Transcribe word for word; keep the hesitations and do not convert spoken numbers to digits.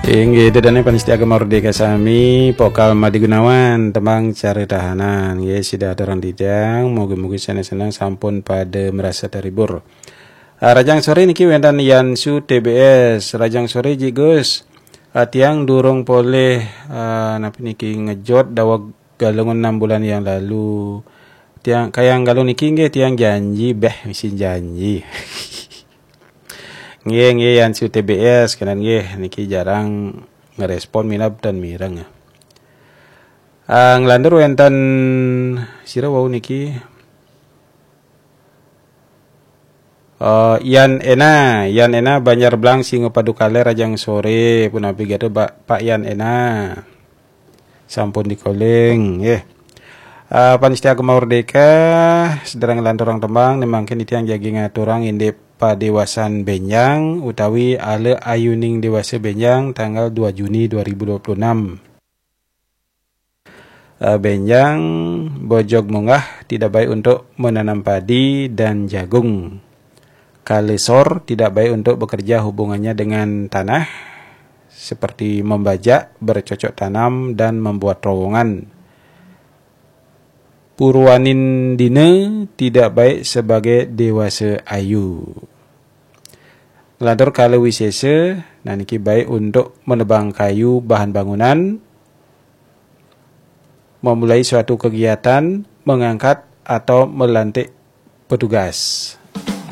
Inggih, ida dané pamiarsa Gema Merdeka sami, Pokal Made Gunawan, tembang Caritahanan. Nggih, sida aturang titiang, mugi-mugi sané seneng sampun pada merasa terhibur. Ah, rahajeng soré niki wénten Yansu T B S. Rahajeng soré, Ji Gus. Ah, tiang durung polih, ah, napi niki, ngejot daweg Galungan enam bulan yang lalu. Tiang kayang Galungan niki nggih tiang janji, béh misi janji. Nggih, nggih, Yansu T B S, kenen nggih, niki jarang ngerespon, minab ten mireng. Ah, nglantur wénten sira wau niki. Eh, Yan Ena, Yan Ena, Banjar Blang, Singapadu Kaler, rahajeng soré, punapi gatra, Pak, Pak Yan Ena. Sampun di-calling, nggih. Ah, pamiarsa Gema Merdeka, sedereng nglanturang tembang, né mangkin titiang jagi ngaturang indik padéwasan bénjang utawi ala ayuning déwasa bénjang tanggal dua Juni dua ribu dua puluh enam. Eh, bénjang, bojog munggah tidak baik untuk menanam padi dan jagung. Kala sor tidak baik untuk bekerja, hubungannya dengan tanah, seperti membajak, bercocok tanam, dan membuat terowongan. Purwanin dina tidak baik sebagai déwasa ayu. Nglantur kala wisésa, nah niki baik untuk menebang kayu bahan bangunan, memulai suatu kegiatan, mengangkat atau melantik petugas.